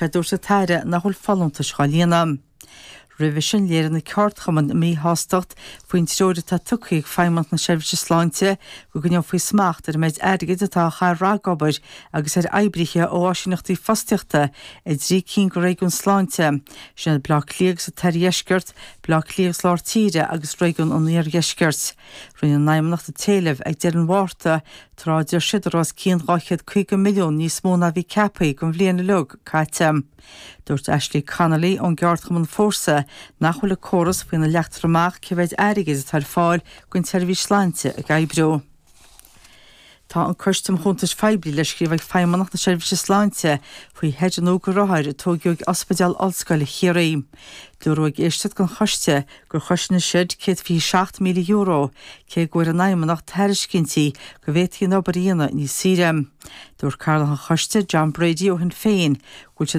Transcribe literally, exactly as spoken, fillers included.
Dúirt an tAire nach bhfuil folúntais á líonadh. Roimhe sin léirigh na ceardchumainn a míshástacht faoin treoir atá tugtha ag Feidhmeannacht na Seirbhíse Sláinte go gcoinneofaí smacht ar an méid airgid atá á chur ar obair agus ar oibrithe ó áisíneachtaí fostaíochta i dtrí cinn de réigiúin sláinte, sin Baile Átha Cliath agus an tOirdheisceart, Baile Átha Cliath agus Lár Tíre agus réigiún an Iardheiscirt. Rinne an Fheidhmeannacht an t-éileamh ag deireadh an Mhárta tráth a deir siad go raibh os cionn dhá chéad caoga milliún níos mó ná bhí ceaptha don bhliain uilig caite. Dúirt Ashley Connolly ón gceardchumann Fórsa nach bhfuil an córas faoina leagtar amach cé mhéid airgid atá ar fáil don tseirbhís sláinte ag oibriú. Tá an Coiste um Chuntais Phoiblí le scríobh ag Feidhmeannacht na Seirbhíse Sláinte faoi sheide nua do rothair a tógadh ag Ospidéal Ollscoile Chiarraí. Dúradh ag éisteacht don choiste gur chosain an seid céad fiche seacht míle euro cé go bhfuair an Fheidhmeannacht tairiscintí go bhféadfaí an obair a dhéanamh níos saoire. Dúirt cathaoirleach an choiste John Brady ó Shinn Féin go bhfuil siad